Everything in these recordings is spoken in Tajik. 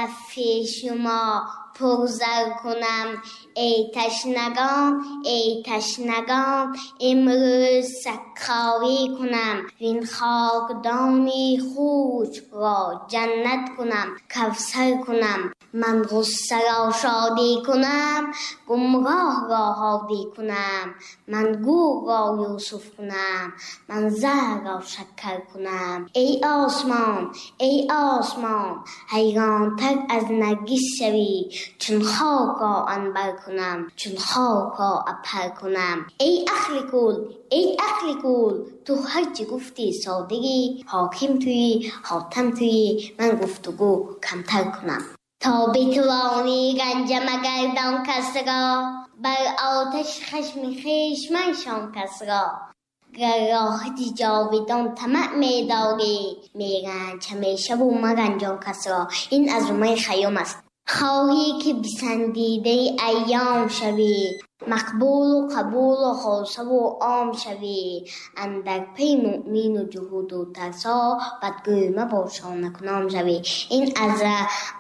کف شما پرزر کنم. ای تشنگان، ای تشنگان، امروز سکاوی کنم، وین خاکدانی خوش را جنت کنم، کوثر کنم. من غصه را شادی کنم، گمراه را هادی کنم. من گور را یوسف کنم، من زهر را شکر کنم. ای آسمان، ای آسمان، حیران تر از نرگس شوی، چون خاک را عنبر کنم، چون خاک را عبهر کنم. ای عقل کل، ای عقل کل، تو هرچی گفتی صادقی، حاکم تویی، حاتم تویی، من گفتگو کمتر کنم. تا بتوانی گنج مگردان کس را، بر آتش خشم خویش منشان کس را. گر راحت جاویدان طمع می داری، می رنج همیشه و مرنجان کس را. این از عمر خیام است. خواهی که پسندیده ایام شوی، مقبول و قبول و خاصه و عام شوی. اندر پی مؤمن و جهود و ترسا، بدگوی مباش تا نکنام شوی. این از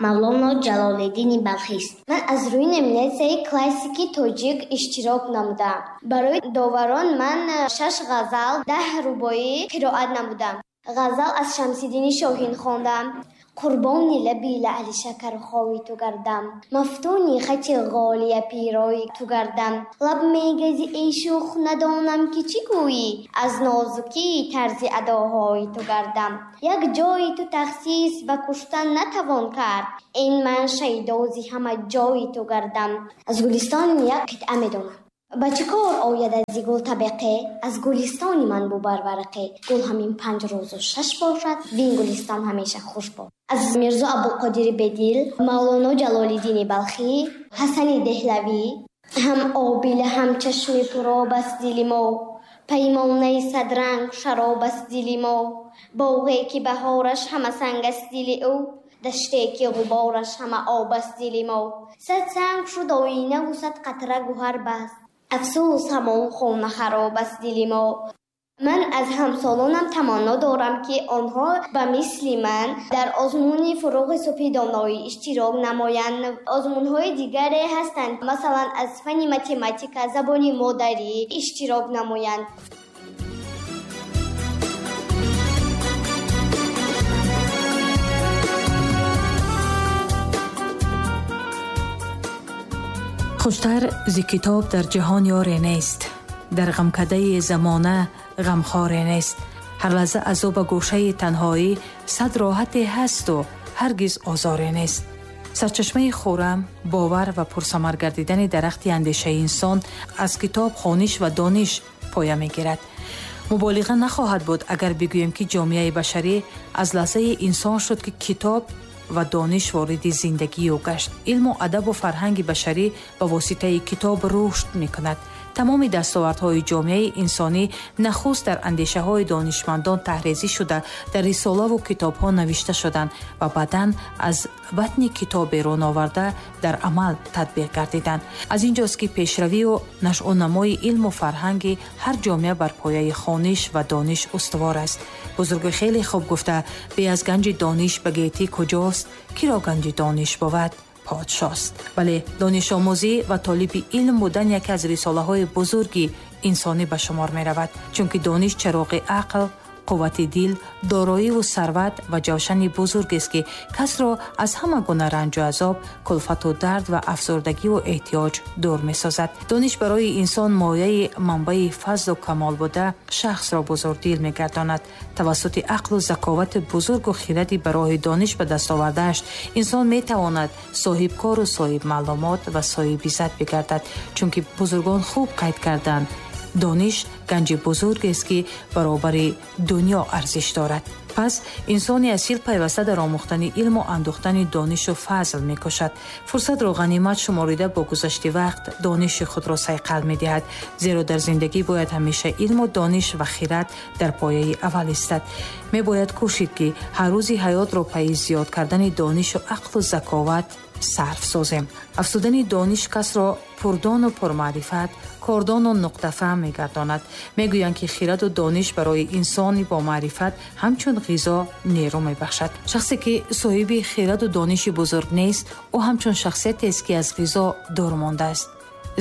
مولانا جلال الدین بلخی است. من از روی نمینیسیای کلاسیکی تاجیک اشتراک نمودم. برای داوران من 6 غزل، 10 رباعی قرائت نمودم. غزل از شمس الدین شاهین خواندم. قربانی لبی لعل شکرخوی تو گردم، مفتونی خط غالیه پیرای تو گردم. لب میگزی ای شوخ ندانم که چی گویی، از نازکی طرز اداهای تو گردم. یک جای تو تخصیص به کشتن نتوان کرد، این من شیدازی همه جای تو گردم. از گلستان یک قطعه میدانم. با چه کار آید از گل طبقه، از گلستانی من بو برورقه. گل همین 5 روز و 6 باشد، وین گلستان همیشه خوش باشد. از میرزا عبدالقادر بدیل، مولانا جلال الدین بلخی، حسن دهلوی. هم آبیله هم چشم پرآب است دل ما، پیمانه صد رنگ شراب است دل ما. باغی که بهارش همه سنگ است دل او، دشتی که غبارش همه آب است دل ما. 100 سنگ شد آینه و 100 قطره گوهر بست، افسوس همان خانه خراب است دل ما. من از همسالانم تمنا دارم که آنها به مثل من در آزمون فروغ صبح دانایی اشتراک نمایند. آزمون‌های دیگری هستند، مثلا از فن متماتیک، زبان مادری اشتراک نمایند. خوشتر ز کتاب در جهان یاری نیست، در غمکده زمانه غمخواری نیست. هر لحظه از او به گوشه تنهایی، صد راحت هست و هرگز آزاری نیست. سرچشمه خورم، باور و پرثمر گردیدن درخت اندیشه انسان از کتاب، خوانش و دانش پایه میگیرد. مبالغه نخواهد بود اگر بگوییم که جامعه بشری از لحظه انسان شد که کتاب و دانش وارد زندگی او گشت. علم و ادب و فرهنگ بشری به واسطه کتاب رشد میکند. تمام دستاوردهای جامعه انسانی نخست در اندیشه‌های دانشمندان تحریزی شده، در رساله و کتاب‌ها نوشته شدند و بعداً از بطن کتاب بیرون آورده در عمل تطبیق گردیدند. از اینجاست که پیشروی و نشو و نمای علم و فرهنگ هر جامعه بر پایه خوانش و دانش استوار است. بزرگ خیلی خوب گفته، بی از گنج دانش به گیتی کجاست، کی را گنج دانش بود پادشاست. ولی دانش آموزی و طالب علم بودن یکی از رساله های بزرگی انسانی به شمار می رود، چون که دانش چراغ عقل، قوت دل، دارایی و ثروت و جوشن بزرگ است که کس را از همه گونه رنج و عذاب، کلفت و درد و افسردگی و احتیاج دور می سازد. دانش برای انسان مایه منبع فضل و کمال بوده، شخص را بزرگ دل می گرداند. توسط عقل و ذکاوت بزرگ و خیرتی برای دانش به دست آورده‌اش، انسان می تواند صاحب کار و صاحب معلومات و صاحب عزت بگردد، چون که بزرگان خوب قید کردند دانش گنج بزرگ است که برابر دنیا ارزش دارد. پس انسان اصیل پیوسته در آموختن علم و اندوختن دانش و فضل میکشد. فرصت را غنیمت شماریده با گذشت وقت دانش خود را صیقل میدهد، زیرا در زندگی باید همیشه علم و دانش و خیرت در پایه اول ایستد. میباید کوشید که هر روزی حیات را پی زیاد کردن دانش و عقل و ذکاوت صرف سازیم. افزودن دانش کس را پردان و پرمعرفت، کاردان و نقطه فهم می‌گرداند. می‌گویند که خیرت و دانش برای انسانی با معرفت همچون ғизо нерӯ мебахшад. Шахсе ки соҳиби хираду дониши бузург нест, ӯ ҳамчун шахсиятест ки аз ғизо дур мондааст.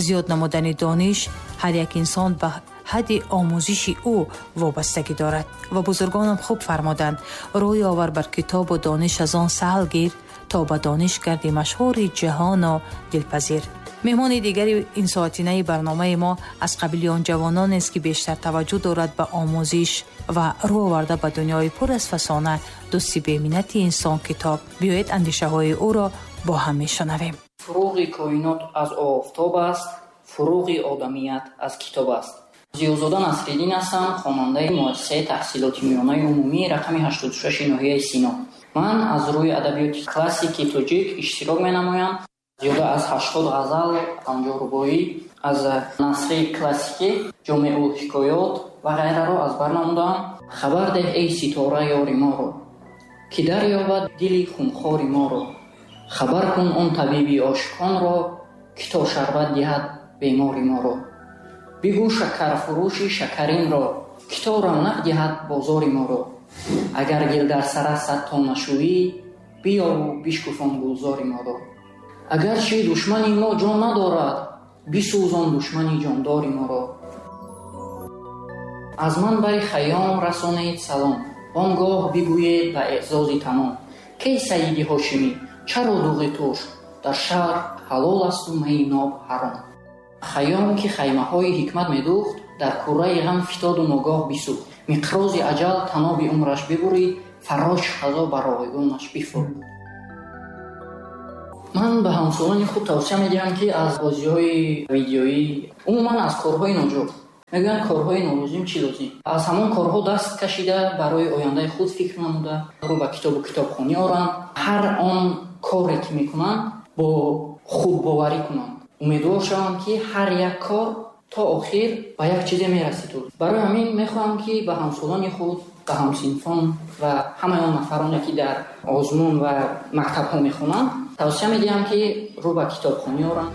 Зиёд намудани дониш ҳар як инсон ба ҳадди омӯзиши ӯ вобастагӣ дорад. Ва бузургонам хуб фармуданд: рӯй овар бар китобу дониш, аз он саҳл гир, то ба дониш гарди машҳури ҷаҳону дилпазир. Меҳмони дигари ин соатинаи барномаи мо аз қабили он ҷавононест, ки бештар таваҷҷӯҳ дорад ба омӯзиш ва рӯ оварда ба дунёи пур аз фасона, дӯсти беминнати инсон китоб. Биёед андешаҳои ӯро бо ҳам мешунавем. Фуруғи коинот аз офтоб аст, фуруғи одамият аз китоб аст. Зиёзода Насриддин ҳастам, хонандаи муассисаи таҳсилоти миёнаи умумӣ рақами 86 ноҳияи Сино. Ман аз рӯи адабиёти классики тоҷик иштирок менамоям. Зиёда аз 80 ғазал, 50 рубоӣ аз насри классикӣ, ҷомеул ҳикоёт ва ғайраро аз бар намудаам. Хабар деҳ эй ситора ёри моро, ки дарёбад дили хунхори моро. Хабар кун он табиби ошиқонро, ки то шарбат диҳад бемори моро. Бигӯ шакарфурӯши шакаринро, ки то равнақ диҳад бозори моро. Агар гил дар сара сад то нашӯӣ, биёву бишкуфон гулзори моро. Агарчи душмани мо ҷон надорад, бисӯзон душмани ҷондори моро. Аз ман бари Хайём расонед салом, он гоҳ бигӯед ба эъзози тамом. Кей Саиди Ҳошимӣ, чаро дуғи туш дар шаҳр ҳалол асту майи ноб ҳаром? Хайём ки хаймаҳои ҳикмат медӯхт, дар курраи ғам фитоду ногоҳ бисӯхт. Миқрози аҷал таноби умраш бибурид, фаррош қазо ба ройгонаш бифурд. Ман ба ҳамсолони худ тавсия медиҳам, ки аз бозиҳои видеоӣ, умуман аз корҳои ноҷор, мегӯянд корҳои нолозим чӣ лозим, аз ҳамон корҳо даст кашида барои ояндаи худ фикр намуда, рӯ ба китобу китобхонӣ оранд. Ҳар он коре ки мекунанд бо худбоварӣ кунанд. Умедвор шаванд, ки ҳар як кор то охир ба як чизе мерасид. Барои ҳамин мехоҳам, ки ба ҳамсолони худ, ба ҳамсинфон ва ҳамаи он нафароне, ки дар озмун ва мактабҳо мехонанд, тавсия медиҳам, ки рӯ ба китобхонӣ оранд.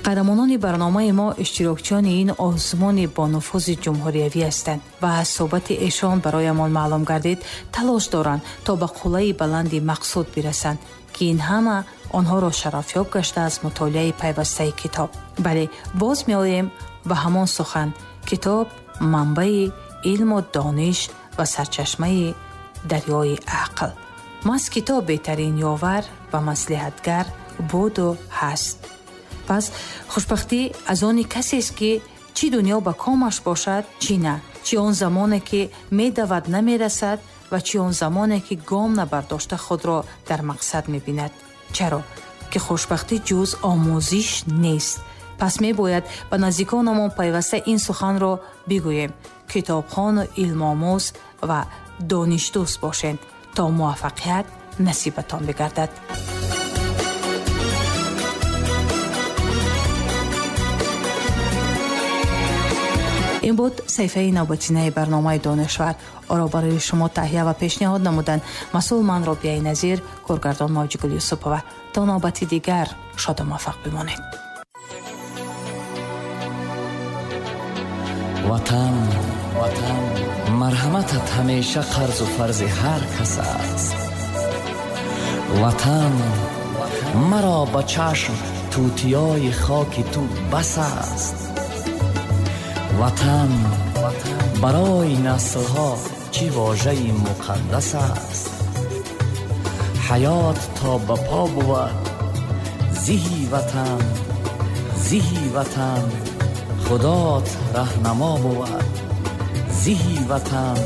Қаҳрамонони барномаи мо иштирокчиёни ин озмуни бонуфузи ҷумҳуриявӣ ҳастанд ва аз суҳбати эшон бароямон маълум гардид, талош доранд то ба қуллаи баланди мақсуд бирасанд, ки ин ҳама онҳоро шарафёб гашта аз мутолиаи пайвастаи китоб. Бале, боз меоем ба ҳамон сухан: китоб манбаи илму дониш ва сарчашмаи дарёи ақл. Маҳз китоб беҳтарин ёвар ва маслиҳатгар буду ҳаст. Пас хушбахтӣ аз они касест, ки чӣ дунё ба комаш бошад, чӣ на, чӣ он замоне ки медавад намерасад ва чӣ он замоне ки гом набардошта худро дар мақсад мебинад. Чаро ки хушбахтӣ ҷуз омӯзиш нест. Пас мебояд ба наздиконамон пайваста ин суханро бигӯем: китобхону илмомӯз ва донишдӯст бошед, то муваффақият насибатон бигардад. Ин буд саҳифаи навбатинаи барномаи Донишвар. Оро барои шумо таҳия ва пешниҳод намуданд масъул ман Робияи Назир, коргардон Мавҷигул Юсупова. То навбати дигар шоду муваффақ бимонед. Ватан, ватан, марҳаматат ҳамеша қарзу фарзи ҳар кас аст. Ватан, маро ба чашм тутиёи хоки ту бас аст. Ватан, барои наслҳо чӣ вожаи муқаддас аст. Ҳаёт то ба по бувад зиҳи ватан, зиҳи ватан, худот раҳнамо бувад зиҳи ватан.